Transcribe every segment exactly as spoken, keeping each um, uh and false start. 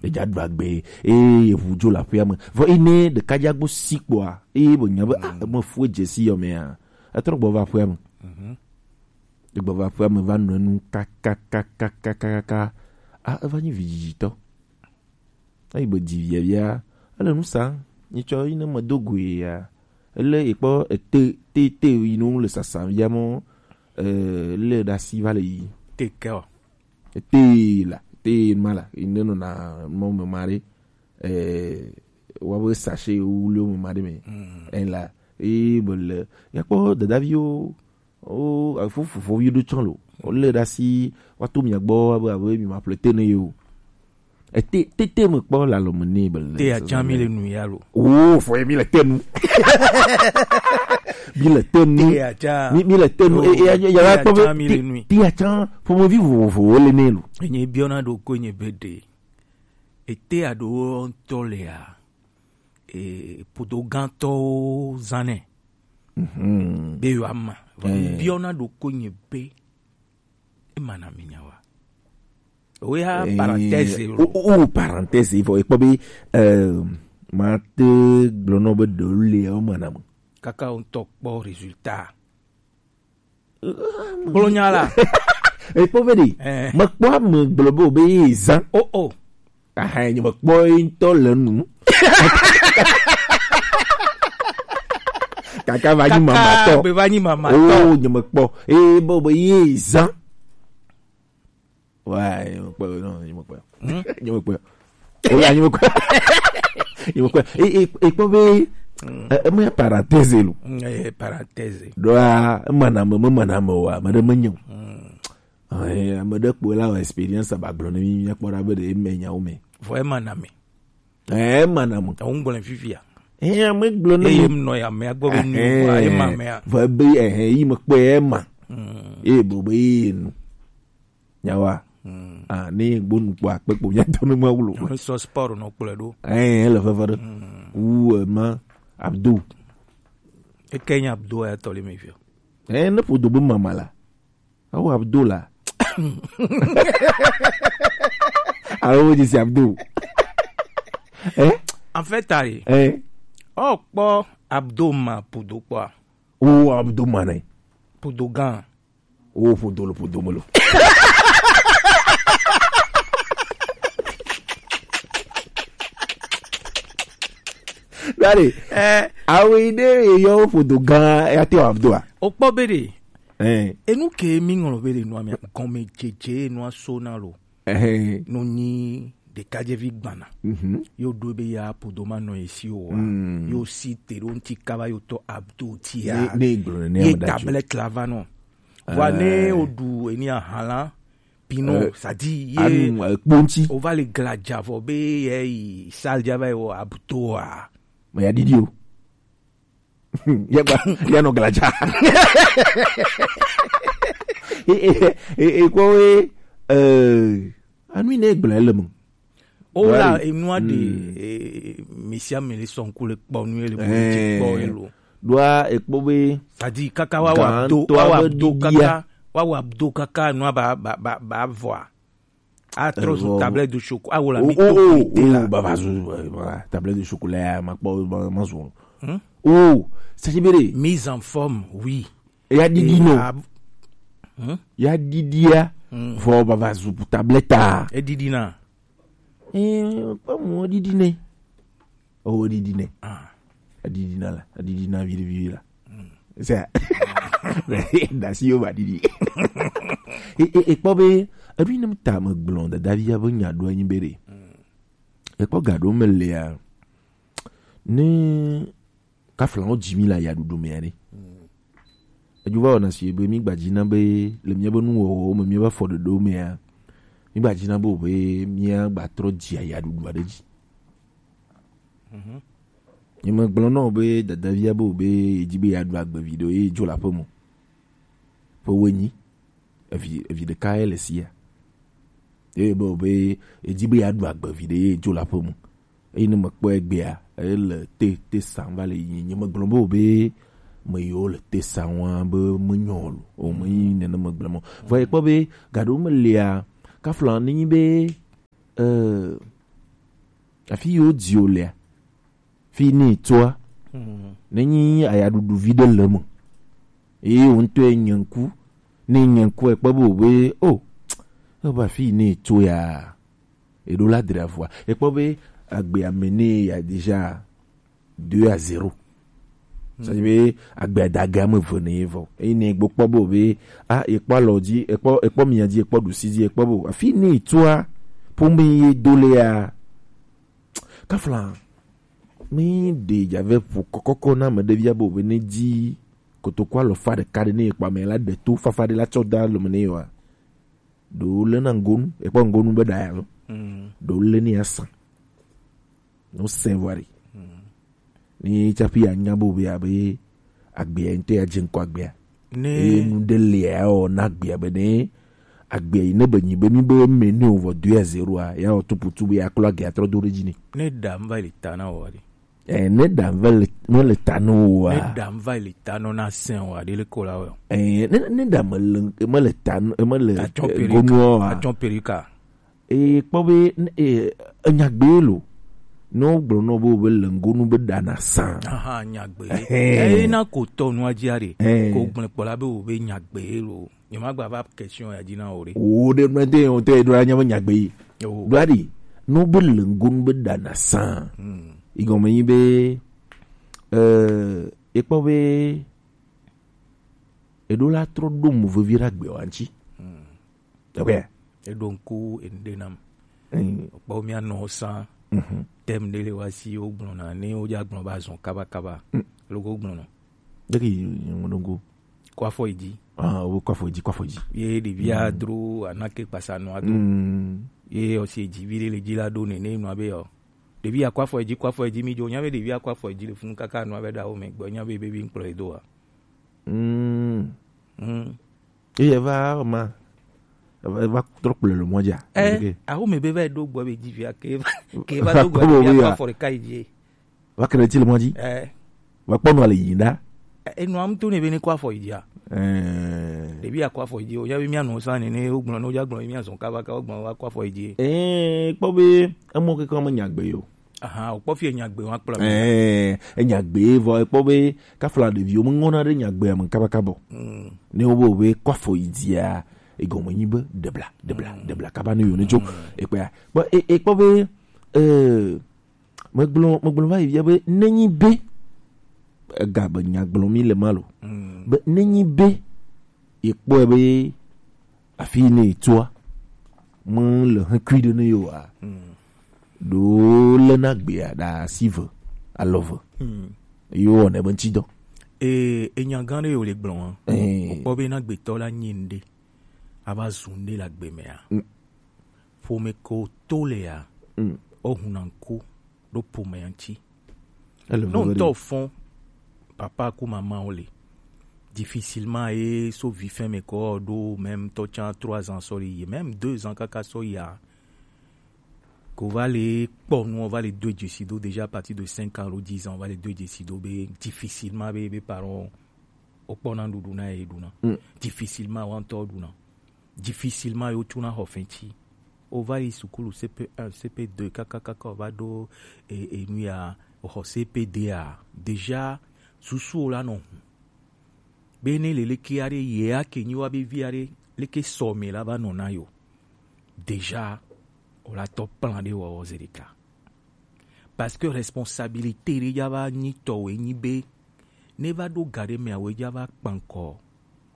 Eja ɖu agbe, eye eʋu dzo le aƒea me. Vɔ yi ne ɖeka dza gbɔ si kpɔa, eye be nya be, ah, eme fu edze si yɔ mea, etrɔ gbɔ va aƒea me. Egbɔ va aƒea me va nɔ enu kakakakakakaka. Ah, eva nyi vidzidzitɔ. Eyi be dzi via via, ele nu sa, nyitsɔ yi ne medo goe ya. Ele ekpɔ ete, te, te yi nu le sasa via mɔ, eh, le ɖe asi va le yi. Te ke o. Ete la, te ma la, yi ne nɔna mɔ me ma ɖe, eh, wa be sachet wuli me ma ɖe me. Eh, la, e be le, ya kpɔ dadaviwo, o, afo fofovi ɖo tsɔ lo. Wo le ɖe asi, wa to mia gbɔ, abe, abe mi ma ƒle te ne yo. Ete, tete me kpɔ la lo me ne be le. Te ya tsã mi le nu ya lo. O, fo mi le te nu. Mi le te nu. Te ya tsã. Mi, mi le te nu. E, e, ya, ya, ya, te ya tsã mi le nu. Te ya tsã, ƒomevi vovovowo le ne lo. Enye biɔna ɖo ko enye be ɖe. Ete aɖewo ŋutɔ lea, e, ƒodo gãtɔwo zãnɛ. Mhm. Be yewoama. Vɔ eh, biɔna ɖo ko nye be, ema na mi nya wa. Oya eh, parenthèse o, lo. O, o, parenthèse, vɔ, ekpɔ be, eh, mate gblɔ nɔ be ɖewo le, o mana me. Kaka wo ŋutɔ kpɔ résultat. Gblɔ nya la. Ekpɔ be ɖe. Eh. Mekpɔ ame gblɔ be wobe ye zã. Oh, oh. Aha, nye mekpɔ ye ŋutɔ le nu. Kaka va nyi mamatɔ. Kaka be va nyi mamatɔ. Oh, nye mekpɔ. Eh, be wobe ye zã. Ouais, nyemekpɔe o, non, nyemekpɔe o. Hmm? Nyemekpɔe o. Oh, ya, nyemekpɔe. Nyemekpɔe. E, e, e, kpɔ be, hmm, e, eme ya parenthèse lo. Hmm, eh, parenthèse. Ɖoa, ema na me, me mana me wa, me ɖe menye o. Hmm. Eh, ame ɖe kpɔe la wɔ expérience aba gblɔ ne mi, mi kpɔ ɖa be ɖe eme nyawo me. Vɔ ema na me. Eh, ema na me. Ewo ŋgblɔ fifia. Eh, ame gblɔ ne eye mi. Eye mnɔ ya mea gbɔ be nu eh, wa, ema mea. Vɔ be, eh, eh, yi mekpɔe ema. Hmm. Eye bo be ye nu. Nyawa. Hmm. Ah, ne gbonu kpɔ akpe kpo nya tɔ ne ma wlo. Ne sɔ sport nɔ kplɔe ɖo. Eh, ele veve ɖe. Hmm. Wu, eh, ma Abdou. Eke nya Abdou ya tɔ le me fia. Eh, ne ƒodo be mama la. Awo Abdou la. Awo dzi si Abdou. Eh? En fait, ayi. Eh. Oh, kpɔ Abdou ma ƒodo kpɔa. Oh, Abdou ma ne. Ƒodo gã. Wo ƒodo lo, ƒodo me lo. Dale. Eh. Awo yi ɖe yɔ wo ƒodo gã ya te Abdou a. O kpɔ be ɖe. Eh. Enu ke mi ŋlɔ be ɖe nua mia gɔme dzedze nua so na lo. Eh. No nyi ɖekadzevi gbana. Mhm. Yo ɖo be ya ƒodo ma nɔ esi o wa. Mm. Yo si te ɖo ŋti kaba yo tɔ Abdou tia. Ne, ne gblɔ ne ye ame ɖe tablette la va nɔ. Vɔa ne eh, woɖu eni ahala, pino, eh, sadi ye anu, eh, kponti. Wova le gladza vɔ be ye yi salle dza va yi wɔ abutoa. Me ya didi o. Ya gba, ya nɔ gladza. E, e, e, e, kɔ we, eh, anu ne gblẽ le me. O la, voilà. Enua de, hmm, eh, misia me le sɔn ku le kpɔ nu ye le bo le dzi kpɔ ye lo. Ɖoa ekpɔ be sadi kaka wa wa do, wa wa do kaka, wa wa do kaka nua ba, ba, ba, ba vɔa. A trɔ zu tablette de chocolat, a wo la mi to la. Ba va zu, eh, voilà, tablette de chocolat, ma kpɔ, ma, ma zu. Hmm? Oh, c'est-à-dire mise en forme, oui. Ya didi no. Hmm? Ya didi ya. Hmm. Vɔ ba va zu tablette a. E didi na. Eh, kpɔ mo didi ne. Oh, didi ne. Ah. Adidi na la, adidi na vivi vivi la. Hmm. C'est ça. Dasi yo ba didi. E, e, e kpɔ be, ebi ne ta me gblɔ dada via be nya ɖo anyi be ɖe. Hmm. E kpɔ ga ɖo me lea. Ne kafla wo dzi mi la ya ɖuɖu me ɖe. Hmm. Edzo va wɔna si be mi gba dzi na be le mía be nuwɔwɔwo me, mía be afɔɖoɖowo mea, mi gba dzi na be wo be mía gba trɔ dzi ayaɖuɖu aɖe dzi. Mhm. Nye megblɔ na wò be dadavia be wò be yedi be yeaɖu agbe viɖe ye dzo le aƒe me. Ƒe wuienyi. Evi, evi ɖeka ye le sia. Eye be wò be yedi be yeaɖu agbe viɖe ye dzo le aƒe me. Eye ne mekpɔe egbea, ele te, te sam va le yi. Nye megblɔ be wò be me yiwo le te sam wa be menyo o lo. O me yi nene megblɔ mo. Vɔ ye kpɔ be gaɖewo me lia, kafla ne nyi be, eh, Afi yi wodi wo lea, fi ne etoa, nenyi ayaɖuɖu vi ɖe le me. Eye wo ŋutɔ ye nye ŋku, ne nye ŋku ekpɔ be wobe, o, ebe afi yi ne eto ya, eɖo la dra vɔa. Ekpɔ be agbea me ne ya déjà deux à zéro. C'est-à-dire be agbea da ge ame eve ne ye vɔ. Eye ne egbo kpɔ be wobe, a, ekpɔ alɔ dzi, ekpɔ, ekpɔ mia dzi, ekpɔ ɖusi dzi, ekpɔ be afi ne etoa, ƒome ye do le ya. Kafla, mi ɖe dzave ƒo kɔkɔkɔ na ame ɖe via be wobe ne dzi kotoku alɔfa ɖeka ɖe ne ekpɔ ame la ɖe to fafa ɖe la tsɔ da lome ne yewa. Ɖewo lé na ŋgonu, ekpɔ ŋgonu be ɖa ya lo. Ɖewo lé ne ya sa. No sɛn vɔ ɖi. Ni tsaƒi ya nya be wobe abe agbea ŋutɔ ya dze ŋkɔ agbea. Ne eye nu ɖe lia ya wɔ na agbea be ne agbea yi ne be nyi be mi be me ne wɔ deux à zéro a, ya wɔ tuputu be ya klɔ agbea trɔ do ɖe dzi ne. Ne ɖa mva le ta na wɔ ɖi. Eh, ne ɖa mva le, mele ta no wɔ a. Ne ɖa mva le ta no na sɛn wɔ ɖi le ko la wɔ. Eh, ne, ne ɖa mele, mele ta no, mele, atsɔ eh, perika. Gonuɔ a. Atsɔ perika. Eye kpɔ be, e, enyagbe lo. Ne wogblɔ nɔ be wobe le ŋgonu be ɖa na sã. Aha, nyagbe. Ɛhɛn. Eye na ko tɔ nua dzi aɖe. Ɛhɛn. Ko gblẽ kpɔ la be wobe nyagbe lo. Nyemagba va question ya dzi na wo ɖe. Wo ɖe mlɔ te, wo te ɖo la nya be nyagbe yi. Ɖo aɖi, ne wobe le ŋgonu be ɖa na sã. Igɔme nyi be, e, ekpɔ be, eɖo la trɔ ɖo mo vevi ɖe agbe wa ŋtsi. Eɖo ŋku enuɖe nam. Kpɔ mía nɔ sã. Tem ɖe le wa si wogblɔna ne wodze agblɔ be azɔ kabakaba. Loko wogblɔna. Ɖeki ŋu ɖo ŋku. Kɔ afɔ yi dzi. Ah, wo kɔ afɔ yi dzi, kɔ afɔ yi dzi. Ye ɖevia dro anake kpasa nɔa do. Ye ɔsi edzi vi ɖe le dzi la ɖo nene nɔa be yɔ. Ɖevia kɔ afɔ yi dzi, kɔ afɔ yi dzi mi dzo. Nya be ɖevia kɔ afɔ yi dzi le funu kaka nɔa be ɖa wo me gbɔ. Nya be baby ŋkplɔ yi do wa. Mm. Eye va ma. Eva trɔ kplɔe le mɔ dzia. Eh, aho me be va ɖo gbɔ be dzi via ke va, ke va do gbɔ be ya kɔ afɔ ɖeka yi dzi. Va kele ti le mɔ dzi. Eh. Va kpɔ nua le yi da. Enua mu to ne be ne kɔ afɔ yi dzia. Eh. Ɖevi ya kɔ afɔ yi dzi o, ya be mía nɔ sa ne ne wo gblɔ ne wo dza gblɔ mía zɔn kaba ka wo gblɔ va kɔ afɔ yi dzi. Eh, kpɔ be emɔ keke me nya gbe yo. Aha, wòkpɔ fie nyagbe wa kplɔ mi. Ɛɛ, enyagbe vɔ ekpɔ be kafla ɖeviwo meŋɔna ɖe nyagbea me kabakabɔ. Ne wobe wobe kɔ afɔ yi dzia, egɔme nyi be ɖebla, ɖebla, ɖebla kaba ne yone tso ekpea. Kpɔ e- ekpɔ be, eh, megblɔ megblɔ va yi via be nenyi be ega be nyagblɔ mi le ma lo. Be nenyi be yekpɔe be afi yi ne yetoa mele hekui ɖe ne yewoa, ɖo lena gbea ɖe asi ve alɔ ve. Yewowɔnɛ be ŋtidɔ. Ee, enya gã ɖe yewo le gblɔ hã. Wokpɔ be na gbetɔ la nyi ŋɖe ava zu ŋɖe le agbe mea, ƒome ko to lea, wohuna ŋku ɖo ƒomea ŋti. Ne ŋutɔ fɔn, papa ku mama wo le. Difficilement ye so vi fɛn me kɔ ɖo même tɔ tsan trois ans sɔ yi, même deux ans kaka sɔ ya. Ko va le kpɔ nu, va le do dzesi do déjà à partir de cinq ans alo dix ans, va le do dzesi do be difficilement be be parents o kpɔ na ɖuɖu na ye ɖuna. Difficilement wa ŋutɔ ɖuna. Difficilement yo tsuna xɔ fɛn ci. O va yi sukulu C P un, C P deux, kaka kaka o va ɖo e- enu ya, o xɔ C P deux a, déjà susu o la nɔ hu. Be ne le leke aɖe ye ake nyi wa be vi aɖe leke sɔ me la va nɔ na yo. Déjà o la tɔ plan ɖe wɔwɔ zi ɖeka. Parce que responsabilité ɖe dza va nyi tɔwɛ nyi be ne va ɖo ga ɖe mea wɛ dza va kpankɔ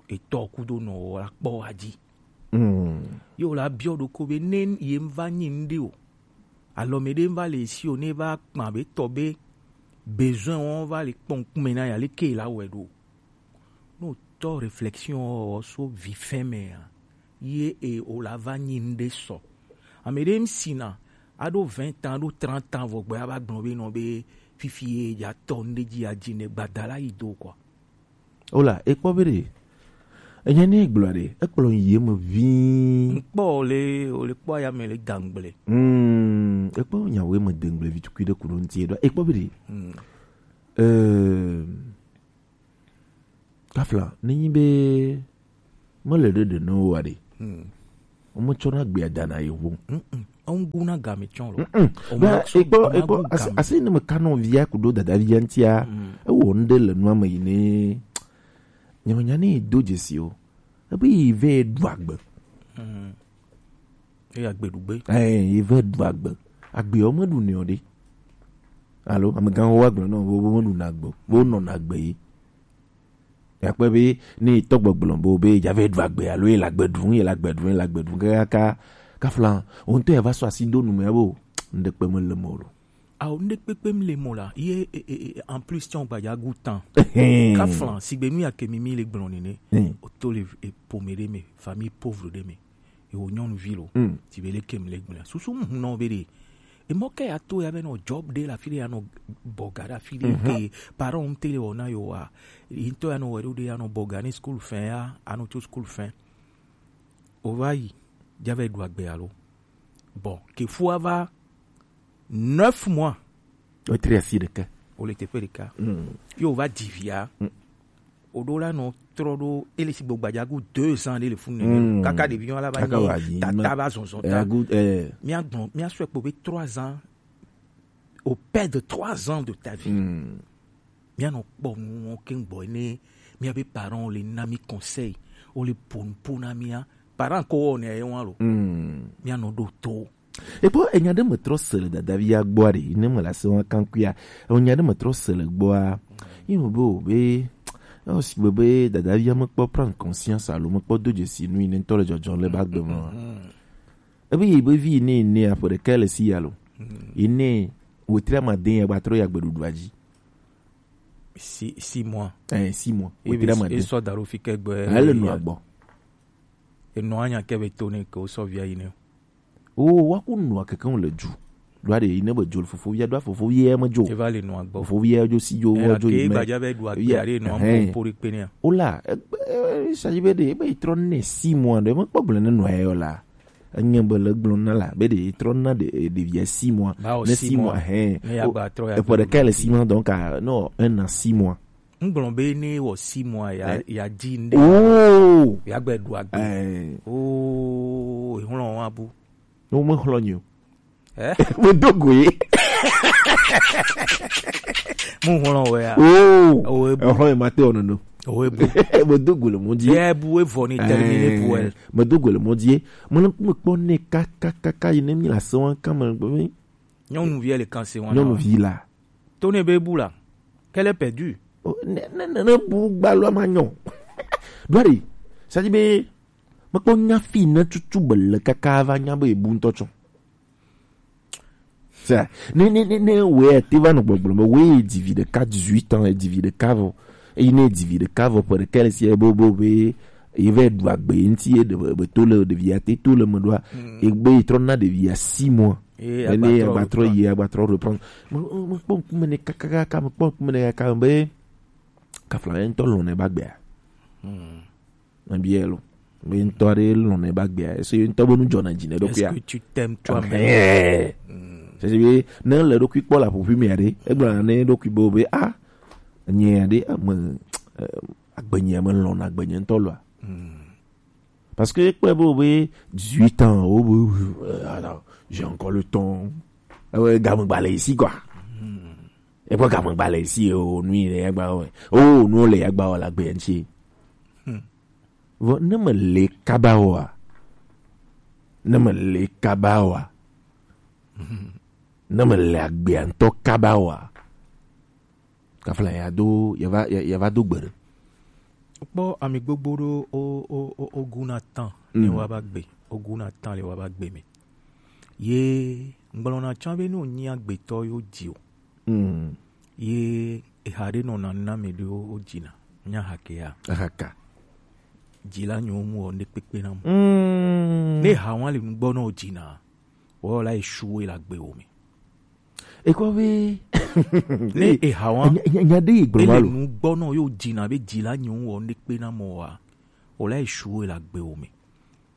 etɔ kudo nɔwɔ la kpɔ wa dzi. Ye wòle abiɔ ɖoko be ne ye va nyi ŋɖe o, alɔ me ɖe va le esi o, ne va kpa be tɔ be besoin wɔn va le kpɔ ŋkume na ya leke la wɛ ɖo. No tɔ réflexion wɔ so vi fɛn mea, ye e o la va nyi ŋɖe sɔ. Ame ɖe ŋsina aɖo vingt ans, aɖo trente ans vɔ gbɛ ava gblɔ be nɔ be fifi ye dza tɔ ŋɖe dzi adzi ne gbada la yi do kɔ. Ola, ekpɔ be ɖe. Enye ne gblɔ ɖe, ekplɔ yi me vi. Ŋkpɔ le, o le kpɔ ya me le dangble. Hmm, ekpɔ nyawo me dangble vi tukui ɖe kuɖo ŋti ɖo. Ekpɔ be ɖe. Hmm. Euh, kafla, ne nyi be mele ɖe ɖe ne wo aɖe. Hmm. Wo me tsɔna gbea dana yewo. Mm-mm. Ŋguna game tsɔ lo. Mm-mm. O ma Ba, so, ekpɔ, o ma ekpɔ, gu asi, game. Asi ne me ka nɔ via kudo dada via ŋtia, Mm. Ewɔ ŋɖe le nua me yi ne. Nyemenya ne do dzesi o. Ebe yi vɛ ɖu agbe. Mm. Eya gbe ɖu gbe. Ɛ, yi vɛ ɖu agbe. Agbe o me ɖu ne o ɖe. Alo, amegãwo wa gblɔ nɔ, wo, wo me ɖu na agbe o. Wo nɔ na agbe yi. Yakpɔe be ne tɔ gbɔgblɔ bo be dza vɛ ɖu agbe alo ye la gbe ɖu, ye la gbe ɖu, ye la gbe ɖu kaka kafla o ŋutɔ ya va sɔ asi do nu me bo ŋɖe kpe me le mo lo. Awo ŋɖe kpekpe mi le mo la ye e, e, e, en plus tsɔ gbadza gu tan. Kafla sigbe nu ya ke mi mi le gblɔ nene. Hmm. O to le e, pome ɖe me, famille pauvre ɖe me. Ewo nyɔnuvi lo. Mm. Ti be leke mi le gblɔ. Susu mu nɔ be ɖe. Emɔ ke ya to ya be nɔ job ɖe la fi ɖe ya nɔ bɔga ɖe afi ɖe ke parent ŋute le wɔna yo wa. Yi ŋutɔ ya nɔ wɛ ɖo ɖe ya nɔ bɔga ne school fin ya, anɔ tso school fin. O va yi, dza vɛ ɖu agbe alo. Bon, ke fua va neuf mois. O tri asi ɖeka. O le teƒe ɖeka. Mm. Yo va dzi via. Mm. O ɖo la nɔ trɔ ɖo ele si gbɔ gbadza gu deux ans ɖe le funu nene. Mm. Kaka ɖevi nyɔ la va Kaka nyi wa dzi, tata ma- va zɔzɔ Eh, ta. Gu- eh. Mia gbɔn, mia sɔe kpo be trois ans. Au père de trois ans de ta vie. Mm. Mia nɔ kpɔ nu wɔn ke gbɔ ne mia be parents le na mi conseil, o le po nu po na mia. Parents ko wɔ ne ye wɔn lo. Mm. Mia nɔ ɖo to. Ekpɔ enya ɖe me trɔ se le dadavia gbɔa ɖe, ne me le ase wa kankuia. Enya ɖe me trɔ se le gbɔa. Yi me be o be, o si be be dadavia me kpɔ prendre conscience alo me kpɔ do dzesi nu yi ne ŋutɔ le dzɔdzɔ le ba gbe me. Ebe yi be vi ne ne aƒe ɖeka le si ya lo. Yi ne wetri amade ya gba trɔ ya gbeɖuɖua dzi. Si, six mois. Eh, six mois. Wetri amade. Esɔ da ɖo fi ke gbe. Ele nua gbɔ. Enɔ anya ke be to ne ke wosɔ via yi ne. O, wa ku nua keke le ju. Ɖo aɖe yi ne be jo fofo via ɖo fofo via me jo. Eva le nua gbɔ. Fofo via jo si jo wo jo yi me. Gbadza be ɖu akpe aɖe nɔ amɔ po ɖe kpe nea. O la, sa yi be ɖe be trɔ ne six mois ɖe me kpɔ gblẽ ne nua yɔ la. Enye be le gblɔ na la be ɖe trɔ na ɖe ɖevia six mois. Ne six mois hɛn. Eƒe ɖeka le six mois donc no un an six mois. Ŋgblɔ be ne wɔ six mois ya ya dzi ŋɖe. Oh. Ya gbe ɖu agbe. Oh, ehlɔ wa bu. No me hlɔ nyo. Eh? Me do go ye. Mu hlɔ wɛ ya. Oh. Oh, ebu. Ehlɔ ma te ono no. Oh, ebu. Me do go le mo di. Ye bu e vɔ ni termine bu e. Me do go le mo di. Mo ne me kpɔ ne ka ka ka ka yi ne mi la se wan kan me gbe mi. Nyɔnuvi le kan se wan. Nyɔnuvi la. To ne be bu la. Qu'elle est perdue. Oh, ne ne ne ne bu gbalɔ ma nyɔ. Dwari. Ça dit be me kpɔ nya fi ne tutu be le kaka va nya be bu ŋutɔ tsɔ. Ça, ne ne ne ne we te va nɔ gbɔgblɔ me we dix vi ɖeka dix-huit ans dix vi ɖeka vɔ. Eyi ne dix vi ɖeka vɔ ƒe ɖeka le si bo bo be ye va ɖu agbe ŋuti ye ɖe be to le ɖevia te to le me ɖoa. Egbe yi trɔ na ɖevia six mois. Ene agbatrɔ yi agbatrɔ reprendre. Me me kpɔ ŋkume ne kakaka me kpɔ ŋkume ne kaka be kafla ye ŋutɔ lɔ̃ ne ba gbea. Mabia lo. Be ŋutɔ aɖe lɔ̃ ne ba gbea. Ese ŋutɔ be nu dzɔna dzi ne ɖokuia. Est-ce que tu t'aimes toi-même? Sese be ne le ɖokui kpɔ la ƒoƒui mea ɖe egblɔ ne ɖokui be be a nye aɖe ame agbenye me lɔ̃ na agbenye ŋutɔ loa. Parce que ekpɔe be wobe dix-huit ans, wobe, euh, attends, j'ai encore le temps. Ewe game gba le esi quoi. Eƒe game gba le esi o nu yi le ya gba o. O nu le ya gba o la gbe ŋuti. Vɔ ne me le kaba oa. Ne me le kaba oa. Ne me le agbea ŋutɔ kaba oa. Kafla ya do ya va ya va do gbe ɖe. Kpɔ ami gbogbo ɖo o o o o guna tan ne wa ba gbe o guna tan le wa ba gbe me. Ye ŋgblɔna tsã be ne wònyi agbetɔ yewo dzi o. Ye eha ɖe nɔna na ame ɖewo wodzina nya hake ya. Ahaka. Dzila nyewo mu wɔ ne kpekpe na mu. Ne ha wa le nugbɔ na wodzina wɔla esuwo le agbe wo me. Ekɔ be ne eha wa nya ɖe yi gblɔ ma lo. Ele nugbɔ na yo dzina be dzila nyewo wɔ ne kpe na mɔ wa. Wɔla esuwo le agbe wo me.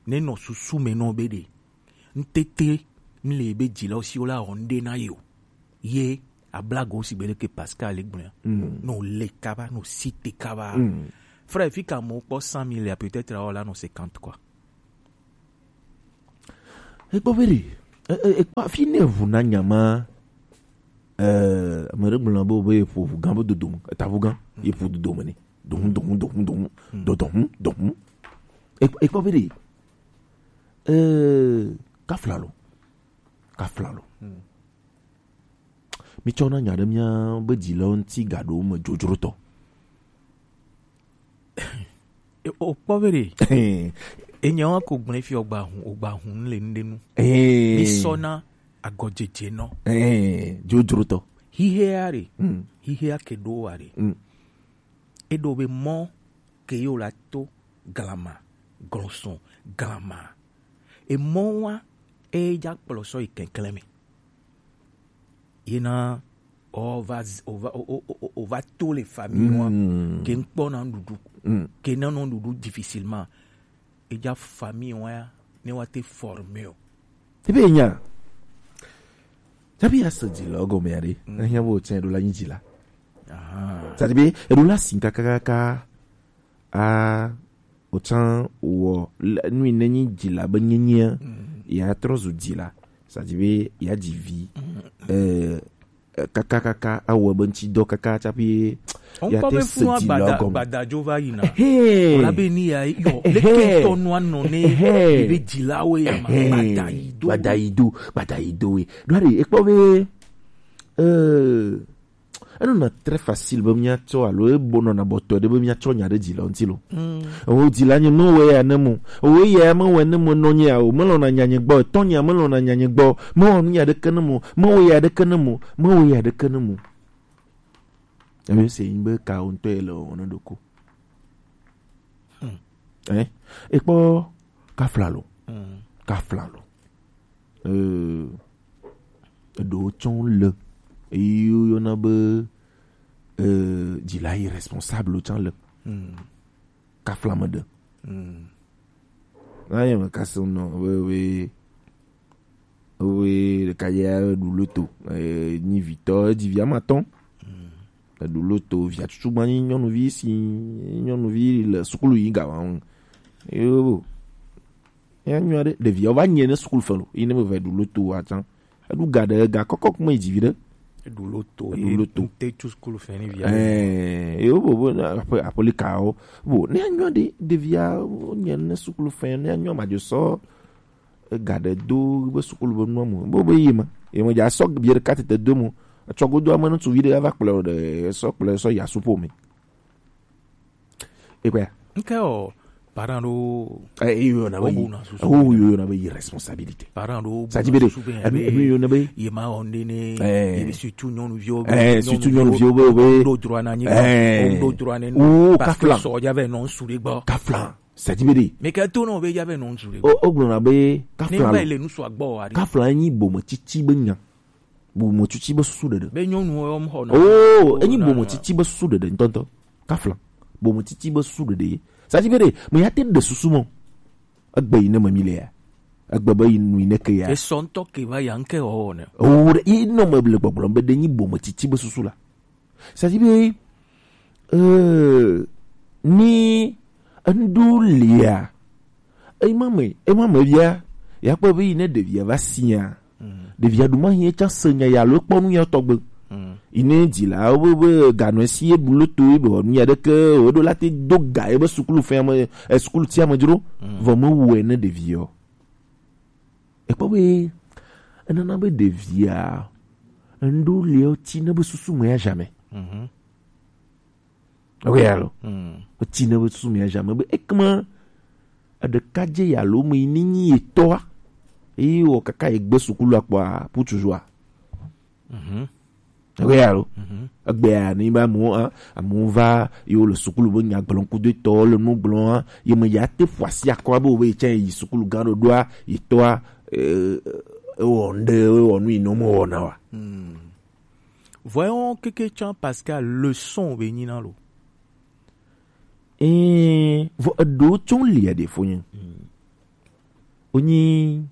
Ne nɔ susu me nɔ be ɖe ŋtete mle be dzilawo si wo la wɔ ŋɖe na ye o. Ye ablago si be leke Pascal le gblɔa. No le kaba no si te kaba. Frère, fi ka mo kpɔ cent mille ya peut-être awɔ la no cinquante quoi. Ekpɔ be ɖe E, e, e, kpa fi ne ʋu na nya ma, e, ame ɖe gblɔ be, be yeƒo ʋu gã be dodome, eta ʋu gã, yeƒo dodome ne. Dohun, dohun, dohun, dohun, dodohun, dohun. E, e kpɔ be ɖe, e, kafla lo, kafla lo. Mitsɔ na nya ɖe mía be dzilawo ŋuti gaɖo me dzodzrotɔ. E, o kpɔ be ɖe. Enye wa ko gblẽ fi ogba hun, ogba hun le ŋɖe nu. Mi sɔ na agɔdzedze nɔ. Dzodzrotɔ. Hihea ɖe. Hihea ke ɖo wa ɖe. Eɖo be mɔ ke yo la to glama, glɔsɔn, glama. Emɔ wa e dza kplɔ sɔ yi kɛnklɛn me. Yena o va z- o va o, o, o, o va to le famille wa ke n kpɔ na nuɖuɖu ke na nɔ nuɖuɖu difficilement. Eja famille wa ya ne wa te former o. Ebe nya. Tabi ya se dzila gɔme ya ɖe. Ehia bo tse ɖo la nyi dzila. Aha. Tadi be eɖo la sin kakakaka. A Wotsã wɔ le- nu yi ne nyi dzila be nyenyea, ya trɔ zu dzila. Sadi be ya dzi vi. Eh, eh, kaka kaka awɔ be ŋuti dɔ kaka tsaƒe ya Ŋkpɔ te be se funua dzila gbada gɔme. Gbadadzo va yina. Ehe. Wòla be ni ya yɔ Ehe. Leke tɔ nua nɔ ne Ehe. Ebe dzilawo ya ma Ehe. Gbada yi do. Gbada yi do, gbada yi do we. Ɖo ɖe ekpɔ be eh, enɔna très facile be míatsɔ alo ebonɔna bɔtɔe ɖe be míatsɔ nya ɖe dzila ŋuti lo. Ewo dzila nye mewɔe ya ne mo. Ewo eya mewɔe ne mo nɔ nye ya o. Melɔna nya nye gbɔ. Etɔ nya melɔna nya nye gbɔ. Mewɔ nu ya ɖeke ne mo. Mewɔ ya ɖeke ne mo. Mewɔ ya ɖeke ne mo. Ebe se yin be ka wo ŋutɔ ye le wɔwɔ ne ɖoko. Eh, ekpɔ kafla lo. Kafla lo. Eh, eɖewo tsã le. Eyi yɔna be, eh, dzila irresponsable tsã le. Kafla me ɖe. Na ye me kase nɔ we, we, we ɖeka ya ɖu loto. Eh, nyi vitɔ, edzi vi amatɔn. Eɖu loto, via tutu gba nyi nyɔnuvi si, nyɔnuvi le sukulu yi ga wa ŋu. Yo. Ya nyɔ ɖe, ɖevia va nye ne sukulu fɛ lo. Yi ne me va ɖu loto wa tsã. Eɖu ga ɖe, ga kɔkɔ kuma yi dzi vi ɖe. Eɖu loto, Eɖu ye loto. Ŋte tu sukulu fɛ ni via. Eh, yo bo, bo, na, aƒe, aƒe li ka wo. Bo, ne ya nyɔ ɖe, ɖevia, nye ne sukulu fɛ, ne ya nyɔ ma dzo sɔ. Ega ɖe do be sukulu be nua mo. Bo be yi ma. Ye me dza sɔ bie ɖeka tete do mo. Etsɔ godo ame ŋutsuvi ɖe va kplɔe o ɖe, sɔ kplɔe sɔ ya supo me. Ekpɔa? Nke o, parent ɖo. Eh, iyo na be, wo bu na susu. Oh, iyo na be irresponsabilité. Parent ɖo bu Sadi be na de, susu be enu, ya enu be iyo na be. Ye ma o nde ne, eh, ye be surtout nyɔnuviwo be, eh, surtout nyɔnuviwo be, be. Ɖo droit na nyi. Eh. Ɖo droit ne. Oh, parce que kafla. Sɔ ya ve non suri gbɔ. Kafla. Sadi be ɖe. Mais ke to no be ya ve non suri gbɔ. O, o gblɔna be kafla. Ne ba le nu so agbɔ wa ɖe. Kafla nyi bome tsitsi be nya. Bome tsitsi be susu ɖeɖe. Be nyɔnu wo m xɔ na. Oh, enyi bome tsitsi be susu ɖeɖe ŋutɔŋutɔ. Kafla. Bome tsitsi be susu ɖeɖe. Sadi be ɖe, me ya te ɖe susu mo. Egbe yi ne me mi le ya. Egbe be yi nu yi ne ke ya. Esɔ ŋutɔ ke va ya ŋke wɔ ne. Oh, ɖe, yi nɔ me le gbɔgblɔm be ɖe nyi bome tsitsi be susu la. Sadi be, eh, ni ŋɖo lia, ema me, ema me bia, ya kpɔ be yi ne ɖevia va sia, ɖevia ɖu ma hiɛ tsa se nya ya lo kpɔ nu ya tɔgbe. Yi ne dzila wo be, be ganɔ esi ye bu loto ye be wɔ nu ya ɖeke, wo ɖo la te do ga ye be sukulu fɛ ame, eh, sukulu ti ame dzro, vɔ me wɔe ne ɖevia o. Ekpɔ be enana be ɖevia ŋɖo le oti ne be susu me ya jamais. Ok, alo. Oti ne be susu me ya jamais be ekema eɖeka dze ya lo me yi ni nyi etɔa. Eye wɔ kaka egbe sukulu akpɔa, putu joa. Egbea lo. Egbea ni ba mo, a, amewo va, yewo le sukulu be nya gblɔm kudo etɔwo le nu gblɔm, a, ye me ya te ƒo asi akɔ be wo be yetsã yi sukulu gã ɖoɖoa, yetɔa, e, ewɔ ŋɖe, ewɔ nu yi ne womewɔna wa. Vɔe wo keke tsã parce que leçon be nyi na lo. Ee, vɔ eɖewo tsã lia ɖe fo nye. Wonyi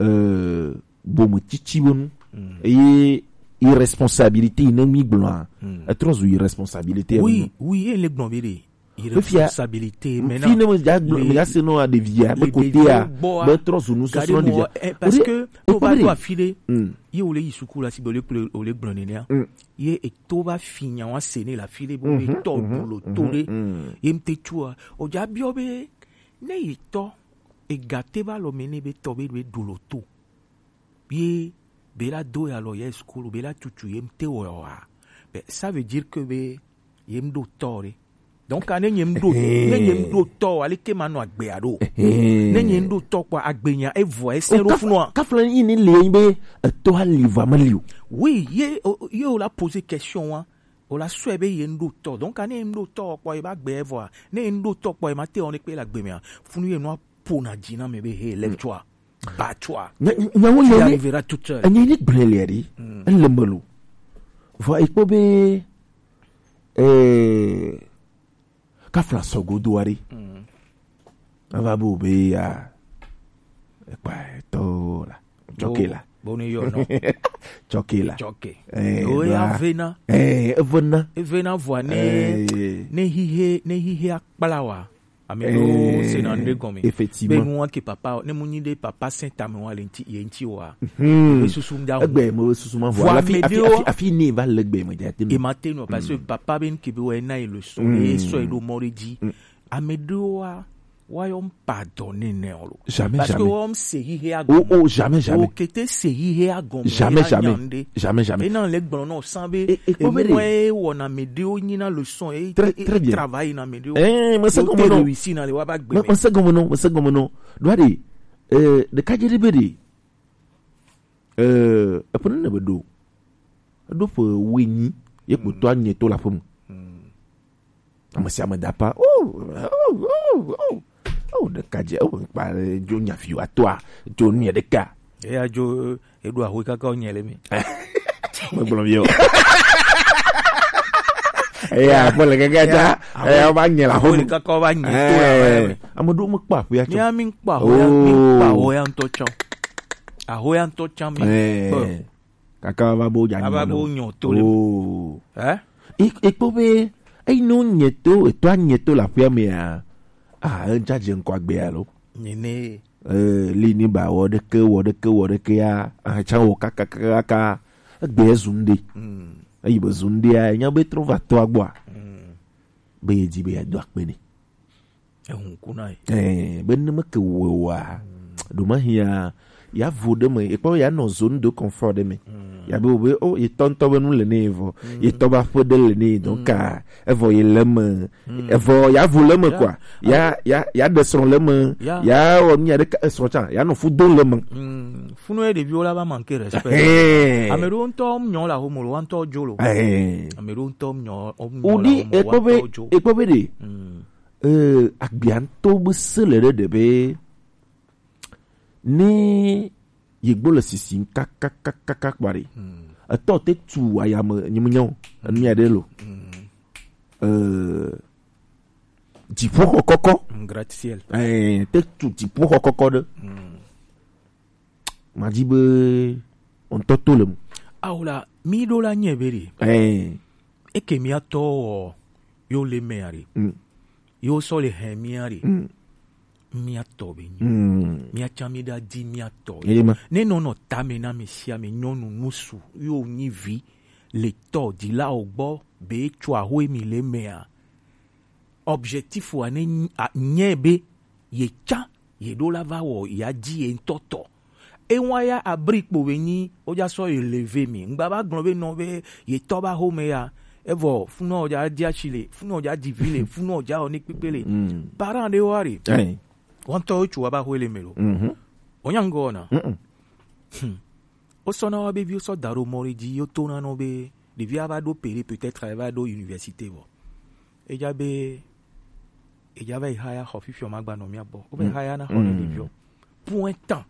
euh, bome tsitsi be nu. Eye irresponsabilité yi ne mi gblɔa, etrɔ zu irresponsabilité. Oui, oui, ye le gblɔ be ɖe. Irresponsabilité. Maintenant, fi ne me dza gblɔ, me dza se nɔ aɖevia be kotea be trɔ zu nusɔsrɔ̃ ɖevia. Parce que o va do afi ɖe, ye o le yi suku la si be o le kple o le gblɔ nenea, ye eto va fi nya wa se ne le afi ɖe be o le tɔ du lo to ɖe, ye ŋte tsua o dza biɔ be ne yi tɔ ega te va lɔ me ne be tɔ be be du lo to. Ye be la do ya lɔ ye sukulu be la tutu ye mte wɔ wa. Be ça veut dire que be ye mɖo tɔ ɖe. Donc ne nye mɖo ne nye mɖo tɔ ale ke ma nɔ agbe aɖo. Ne nye mɖo tɔ kpɔ agbenya evɔ ese ɖo funua. Kafla yi ni le be eto ali va me li o. Oui, ye o- ye o la poser question wa. O la sɔe be ye mɖo tɔ. Donc ne ye mɖo tɔ kpɔ ye ba gbe evɔa. Ne ye mɖo tɔ kpɔ ye ma te o ne kpe la gbe mea. Funu ye nɔ pona dzi na me be he le tsua. Batsua. Nyawo tu yɛ ni arriveras toute seule. Enye ni gblẽ le ɖi. Ele me lo. Vɔ ekpɔ be eh kafla sɔgo do ari. Ava bo be ya ekpa to la. Choke la. Boni yo no. Choke la. Choke. Eh, o ya vena. Eh, vena. Evena vɔ ne ne hihe ne hihe akpla wa. Ame ɖewo sena nu ɖe gɔme. Effectivement. Be nua ke papa ne mu nyi ɖe papa sɛ tame wa le ŋti ye ŋti wa. Be susu da. Egbe mo susu ma vɔ. Afi afi ne va le gbe me ja te. E ma te no parce que papa be nke be wa na e le so e so e do mɔ ɖe dzi. Ame ɖewo wa wa yɔ pardonner ne o lo. Jamais, parce que jamais. Wa se hihe a Oh, gɔme. Oh, jamais, jamais. O kete se hihe a gɔme. Jamais, jamais. Jamais, jamais. Ena le gblɔ no san be e mo e wɔna me ɖewo nyi na le so e Très, très bien. Travail na me ɖewo. Eh, mais c'est comme non. Réussi na le wa ba gbe. Mais c'est comme non, mais c'est comme non. Doit dire euh de kadjeri be de. Euh, epone ne be do. Edo pe wenyi ye kpoto anye to la fem. Ame sia ame da pa. Oh, oh, oh, oh. Oh, ɖeka dze, oh, kpa dzo nya fi wa toa, dzo nu ɖeka. Eya dzo eɖo ahoe kaka wonye le mi. Megblɔ mi o. Eya kpɔ le kaka ta. Eya va nye la ahoe home. Kaka va nye to la. Eh, ame ɖewo mekpɔ aƒea tso. Mía mi kpɔ ahoe, mi kpɔ ahoe ŋutɔ tsã. Ahoe ŋutɔ tsã mi kpɔ. Eh. Kaka va bo dza ava bo nyɔ to le. Oh. Eh? Ekpɔ be eyi no nye to etɔ nye to la ƒea mea. Ah, en charge nkɔ agbe alo. Nye ne. Eh, li ni ba wɔ ɖeke wɔ ɖeke wɔ ɖeke ya. Ah, tsa wɔ kaka kaka kaka. Egbe zun de. Eyi be zun de ya nya be trɔ va to agbɔa. Be ye di be ya do akpe ne. Ehun kuna ye. Eh, be ne me ke wo wa. Do ma hia ya vo de me, e kpɔ ya nɔ zone de confort de me. Ya be o be o ye tɔntɔ be nu le ne vɔ. Ye tɔ ba ƒe de le ne donc a evɔ ye le me. Evɔ ya vo le me quoi. Ya ya ya de srɔ̃ le me. Ya o mi ya de srɔ̃ tsa ya nɔ fu do le me. Funu ye ɖeviwo la va manquer respect. Eh. Ame ɖewo ŋutɔ nyɔ la homo lo wa ŋutɔ dzo lo. Eh. Ame ɖewo ŋutɔ nyɔ nyɔ la homo wa ŋutɔ dzo. Ekpɔ be de. Eh, agbia ŋutɔ be se le ɖe ɖe be ne yegbo le sisi kakakakaka kpa ɖe etɔ te tu ayame nyemenya o enu ya ɖe lo. Eh, dziƒoxɔ kɔkɔ. Gratte-ciel. Eh, te tu dziƒoxɔ kɔkɔ ɖe. Madzi be ŋutɔ to le mu. Awo la mi ɖo la nye be ɖe. Eh. Eke mía tɔ wɔ yo le mea ɖe. Yo sɔ le hɛn mía ɖe. Mía tɔ be nyi. Mía tsã mi ɖa di mía tɔ. Ne nɔ nɔ tame na mi sia mi nyɔnu nusu yo nyi vi le tɔ di la o gbɔ be tsɔ ahoe mi le mea. Objectif wa ne nye be ye tsã ye ɖo la va wɔ ya dzi ye ŋutɔ tɔ. Ewa ya abri kpo be nyi o dza sɔ ye leve mi ŋgba va gblɔ be nɔ be ye tɔ ba home ya evɔ funɔ dza di asi le funɔ dza di vi le funɔ dza wɔ ne kpekpe le. Parent ɖe wa re. Wɔntɔ wo tsu wa ba hoe le me lo. Wonya ŋgɔ na. Wosɔna wa be viwo sɔ da ɖo mɔ ɖe dzi yo tona nɔ be ɖevia va ɖo pere peut-être ava ɖo université vɔ. Edza be edza va yi haya xɔ fifiɔ ma gba nɔ mía gbɔ. Wo va yi haya na xɔ ne ɖeviɔ. Point temps.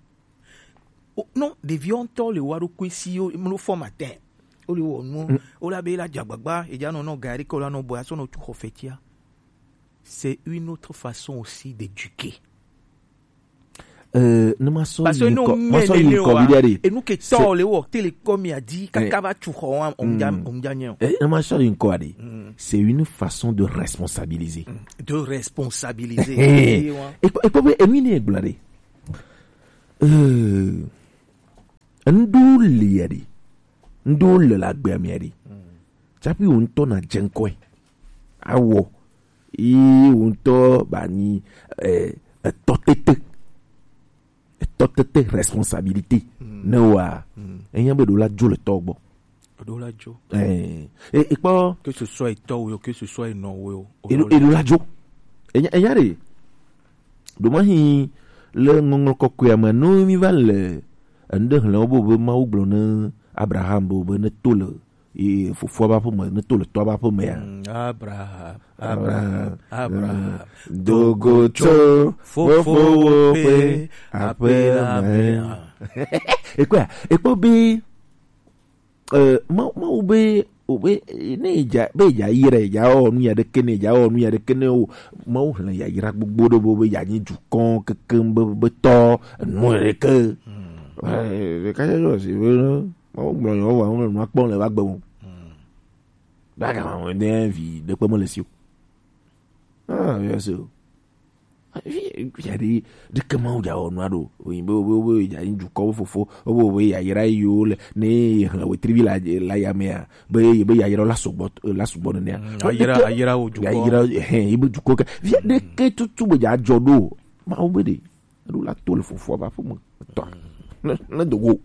Non, ɖeviɔ ŋutɔ le wa ɖokui si yo mlo fɔ matin. Wo le wɔ nuwo. Wo la be la dza gbagba edza nɔ nɔ gari ke wo la nɔ bɔ asɔ nɔ tu xɔ fɛtia. C'est une autre façon aussi d'éduquer. Euh, ne ma sɔ Parce que yi non, ŋkɔ, ma sɔ yi ŋkɔ viɖe ɖe. Et nous que C'est tant les work, télécom, il a dit, Eh. Kaka va tu xɔ, on, on, Mm. on gagne. Eh, ne ma sɔ yi ŋkɔ ɖe. Mm. C'est une façon de responsabiliser. Mm. De responsabiliser. Eh. Eh, ouais. Et, et comme, et nous, il est bladé. Euh, un doux lié, un doux le la gbé, mi a dit. Mm. Tsaƒe wò ŋutɔ nàdze ŋkɔe. Awɔ. Ye wò ŋutɔ ba nyi, eh, etɔ tete. Etɔ tete responsabilité. Mm. Ne wa. Mm. Enya be ɖo la dzo le tɔ gbɔ. Ɖo la dzo. Eh, e, e kpɔ. Que ce soit etɔ wo, que ce soit enɔ wo. Eɖo, eɖo la dzo. Enya, enya ɖe. Ɖo ma hi le ŋɔŋlɔ kɔkɔe me no mi va le enu ɖe hlẽ wo be, be Mawu gblɔ ne Abraham be, be ne to le ye fofoa ƒe aƒe me, ne to le tɔa ƒe aƒe mea. Mm, Abraham, Abraham, Abraham, Abraham, do go tso fofowò ƒe aƒe la me. Ekpɔa, ekpɔ be, eh, Mawu, Mawu be, o be, ne dza, be dza yi ɖe, dza wɔ nu ya ɖeke ne, dza wɔ nu ya ɖeke ne o. Mawu hlẽ yayra gbogbo ɖe be, be ya nyi dukɔ kekeŋ be, be tɔ, enu ɖeke. Mm. Eh, ɖeka ya yɔ si be, Mawu gblɔ yɔ wa, wo nua kpɔm le va gbe mo. Mm. Ba ga ma de vi ɖekpe me le si o. Ah, bien sûr. Vi, vi aɖe, ɖeke Mawu dza wɔ nua ɖo. Oyin be, be, be, dza yi dukɔ wo fofo, wo be, be yayra yi wo le, ne ye hlẽ wetri vi la, la ya mea, be, ye be yayra la sugbɔ, la sugbɔ nenea. Mm, ayra, ayra wo dukɔ. Yayra, hɛn, ye be dukɔ ke. Vi aɖeke tutu be dza dzɔ ɖo. Mawu be ɖe. Eɖo la to le fofoa ƒe aƒe me. Etɔa. Ne, ne do go.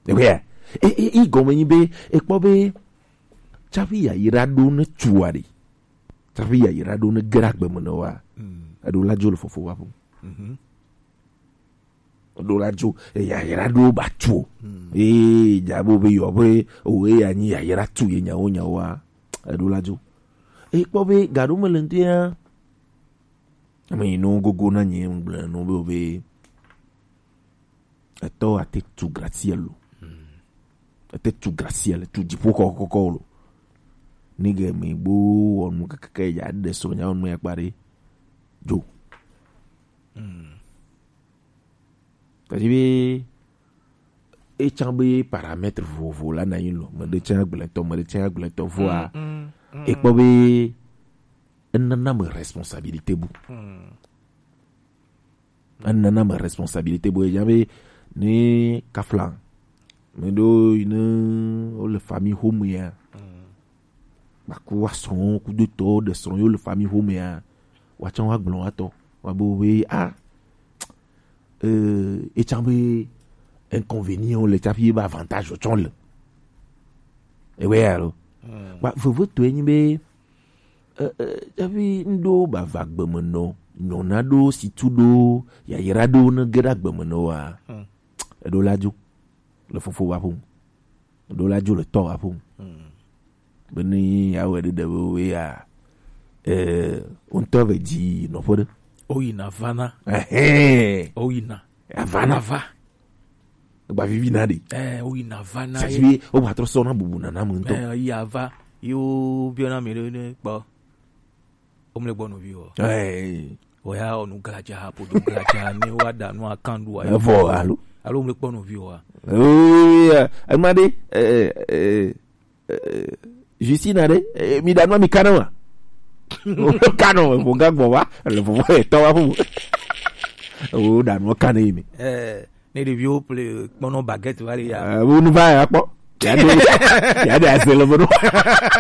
Ewea. E, e, e gɔme nyi be, ekpɔ be, tsaƒe yayra ɖo ne tua ɖe. Tsaƒe yayra ɖo ne ge ɖe agbe me ne wa. Mm. Eɖo la dzo le fofoa ƒe aƒe me. Mhm. Eɖo la dzo, e, yayra ɖo ba tu o. Mm. Ee, dza bo be yɔ be, o, e ya nyi yayra tu ye nyawo nyawoa. Eɖo la dzo. Ekpɔ be, gaɖo me le ŋutia. Ame yi no gogo na nye ŋgble no be, be etɔ ate tu gracia lo. Ate tu gracia le tu dziƒo kɔkɔkɔ lo. Nige me gbo wɔnu keke ya de so nya wɔnu ya kpare. Jo. Tadi be, etsã be paramètre vovovo la na yi lo. Me ɖe tsã gblẽtɔ, me ɖe tsã gblẽtɔ voa. Mm, mm, mm. Ekpɔ be, enana me responsabilité bu. Mm. Enana me responsabilité bu. Eya be, ne kafla, me ɖo yi ne wo le famille home ya. Mm. Ba ku wa srɔ̃, ku do tɔ, ɖe srɔ̃ yo le famille home ya. Wa tsã wa gblɔ wa tɔ. Wa be, we, ah, euh, etsã be inconvénient le tsaƒe be avantage tsɔ le. Ewe ya lo. Mm. Ba, veve to enyi be, eh, eh, tsaƒe ŋɖo ba va gbeme nɔ, nyɔna ɖo, situ ɖo, yayra ɖo ne ge ɖe agbeme nɔ wa. Mm. Eɖo la dzo le fofo wa ƒo. Ɖo la dzo le tɔ wa ƒo. Mm. Be ni ya wɛ ɖe ɖe be ya, eh, ŋutɔ ve dzi nɔƒe ɖe. O yina vana. Ehɛn. O yina. Avana. Vana va. Egba vivi na ɖe. Eh, o yina vana. Sasi ye. Be o ba trɔ sɔ na bubu nana me ŋutɔ. Eh, ya va. Yo biɔ na mi ɖe ne kpɔ. Womle gbɔ nɔvi o. Eh. Oya onu gladza, ƒodo gladza, ne wa da nu akan ɖu ayi. Evɔ alo. Alo womle kpɔ nɔvi o. Eh, ema ɖe, eh, eh, eh, Justina ɖe, eh, mi da nu mi kana wa. Kana wa, ƒo ga gbɔ wa, le ƒo etɔ wa ƒo. O da nu kana yi mi. Eh, ne ɖeviwo ple kpɔnɔ baguette va le ya. Eh, wo nu va ya kpɔ. Ya de, ya de azele bo no.